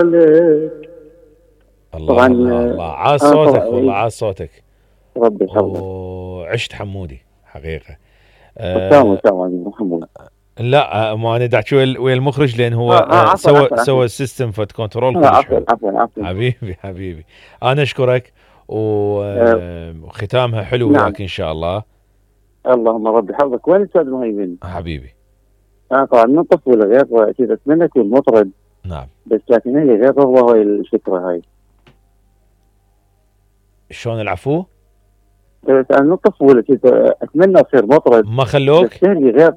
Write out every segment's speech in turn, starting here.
الله طبعا الله الله، عاش انا صوتك طبعا والله، عاش صوتك. ربي يحفظك. وعشت حمودي حقيقة. وسام أه محمود. لا، ما انا دا احكي ويا المخرج، لان هو عفوا سوى عفوا عفوا. سوى السيستم فت كنترول كلش عفوا حلو. عفوا عفوا. حبيبي حبيبي، انا اشكرك. آه وختامها حلو نعم. وياك ان شاء الله. اللهم ربي يحفظك. وين الاستاذ مهيمن؟ حبيبي. انا طبعا من طفولة غير اكيد اتمنى اكون مطرب، نعم. بس لكن هي غير والله هاي الفكرة هاي. شلون العفو؟ بس انا من طفولة كنت اتمنى اصير مطرب، ما بس خلوك؟ هي غير.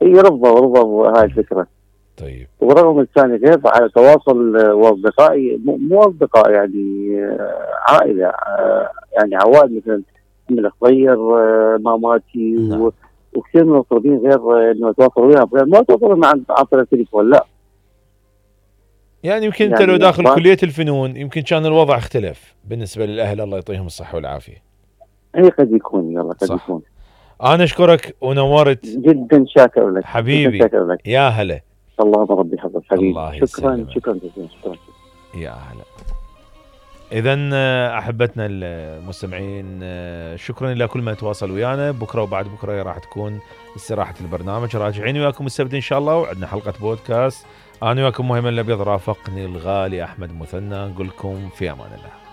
هي رفضوا هاي الفكرة. طيب. ورغم الثاني غير على تواصل واصدقائي، مو اصدقاء يعني عائله، يعني عوائل مثل من الخضير، ماماتي نعم. وكثير من المطربين غير انه اتواصل وياهم، غير ما اتواصل مع عن طريق التليفون لا. يعني يمكن انت لو يعني داخل كلية الفنون يمكن كان الوضع اختلف بالنسبة للاهل، الله يعطيهم الصحة والعافية. هي قد يكون، يلا قد صح. يكون. انا اشكرك ونورت. جدا شاكر لك، جدا حبيبي. شاكر لك. يا هلا. اللهم ربي يحفظك حبيبي. الله شكرا يسلمك. شكرا جزيلا، شكرا. يا هلا. اذا احبتنا المستمعين، شكرا لكل من تواصل ويانا. بكره وبعد بكره راح تكون استراحه البرنامج، راجعين وياكم السبت ان شاء الله، وعندنا حلقه بودكاست. انا وياكم مهيمن الابيض، رافقني الغالي احمد مثنى، نقول لكم في امان الله.